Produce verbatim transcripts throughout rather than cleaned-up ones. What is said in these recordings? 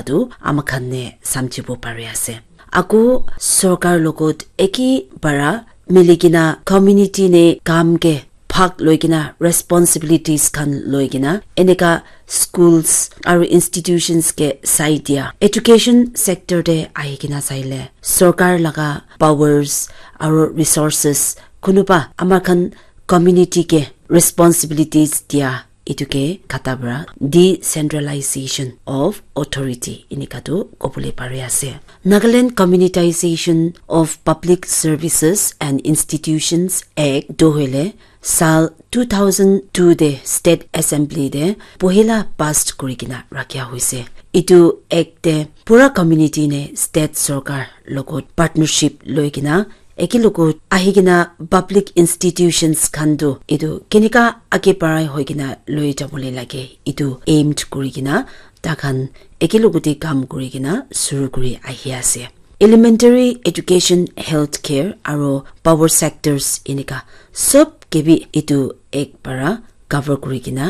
tu ama khan ne samjhibo pari ase. Aku sorkar logot eki para milikena community ne kam ke bhag loikena responsibilities khan loikena eneka schools aru institutions ke sai dia. Education sector te ahikena saile sorkar laga powers aru resources kunuba ama khan community ke responsibilities dia etu ke kata para decentralization of authority enika tu kobole pari ase. Nagaland Communitization of Public Services and Institutions Act tu hoile sal two thousand two de State Assembly de pohila pass kuri kena rakhia hoise. Etu act de pura community ne state sorkar logot partnership loi kena eke logot ahi kena public institutions khan tu etu kenika age parai hoi kena loi jabole lage etu aimed kuri kena ta khan eke logote kam kuri kena suru kuri ahi ase. Elementary education, healthcare aru power sectors enika sob ke bi etu act para cover kuri kena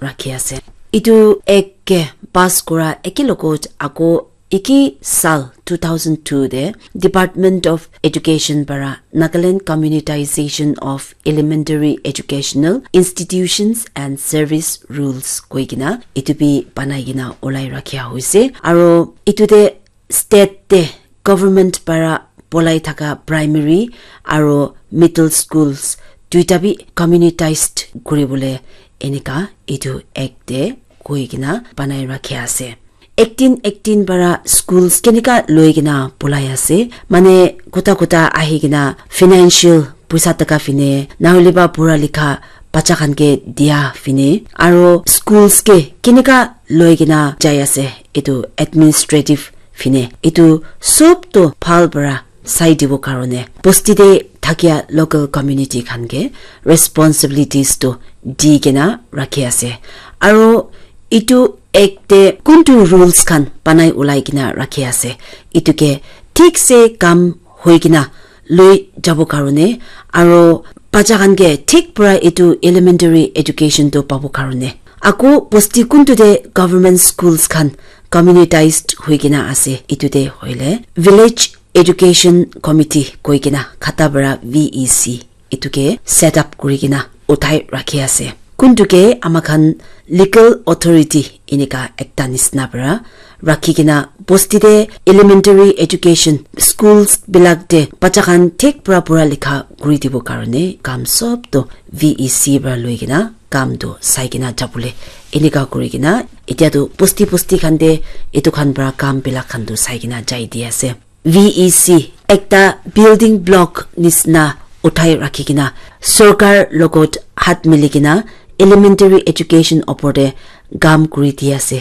rakhi ase. Etu act ke pass kura eke logot ako eki sal two thousand two de Department of Education para Nagaland Communitization of Elementary Educational Institutions and Service Rules koi kena etu bi banai kena olai rakhia hoise. Aro etu de state de government para polai thaka primary aro middle schools duita bi communitized kuribole enika etu act de koi kena banai rakhia ase. Eighteen eighteen para schools kenika loi kena polai ase, mane kota kota ahi kena financial puisa taka fine nahole ba pura likha bacha khan ke dia fine aro schools ke kenika loi kena jai ase etu administrative fine etu sob to bhal para sai dibo karone bosti de thakia local community khan ke responsibilities to di kena rakhi ase. Aro etu act de kuntu rules khan banai ulai kena rakhi ase, etu ke thik se kam hoi kena loi jabo karone aro bacha khan ke thik para etu elementary education to pabo karone. Ako bosti kuntu de government schools khan communitized hoi kena ase, etu de hoile village education committee koi kena khata para V E C etu ke set up kuri kena uthai rakhi ase. Kuntu ke ama khan legal authority enika ekta nisna para rakhi kena bosti de elementary education schools bilak de bacha khan thik para pura likha kuri dibo karone kam sob to V E C para loi kena kam to sai kena jabole enika kuri kena etia to bosti bosti khan de etu khan para kam bilak khan to sai kena jai di ase. V E C ekta building block nisna uthai rakhi kena sorkar logot hat mili kena elementary education opor de kam kuri di ase.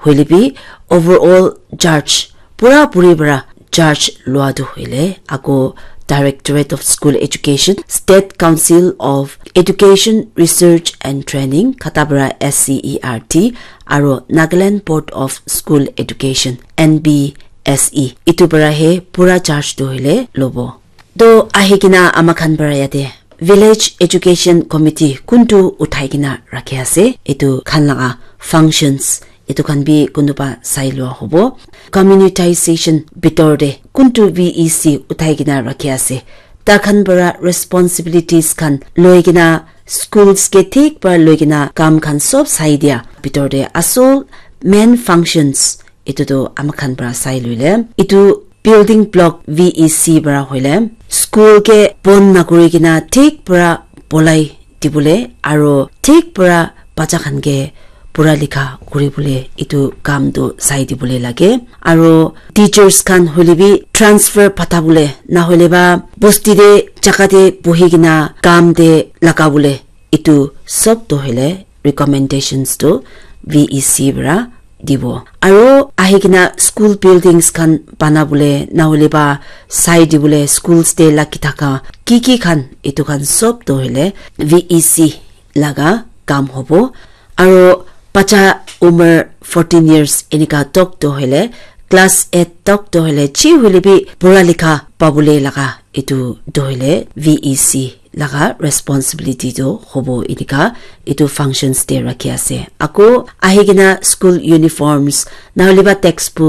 Hoile bi overall charge pura puri para charge lua tu hoile ako Directorate of School Education, State Council of Education Research and Training, khata para S C E R T, aro Nagaland Board of School Education, N B S E, etu para he pura charge tu hoile lobo. To ahi kena ama khan para yate village education committee kuntu uthai kena rakhi ase, etu khan laga functions etu khan bi kunuba sai lua hobo. Communitization bitor de kuntu V E C uthai kena rakhi ase, ta khan para responsibilities khan loi kena schools ke thik para loi kena kam khan sob sai dia bitor de asol main functions etu tu ama khan para sai loile etu building block V E C para hoile school ke bon nakuri kena thik para bolai dibole aro thik para bacha khan ke pura likha kuri bole etu kam tu sai dibole lage. Aro teachers khan hoile bi transfer pata bole nahole ba bosti de jaga de buhi kena kam de laga bole etu sob tu hoile recommendations tu V E C para dibo. Aro ahi kena school buildings khan bana bole nahole ba sai dibole schools de lagi thaka ki ki khan etu khan sob tu hoile V E C laga kam hobo. Aro bacha umar fourteen years enika tok tu hoile class eight tok tu hoile chi hoile bi pura likha pabole laga etu tu hoile V E C laga responsibility tu hobo enika etu functions te rakhi ase. Ako ahi kena school uniforms, nahole ba textbook,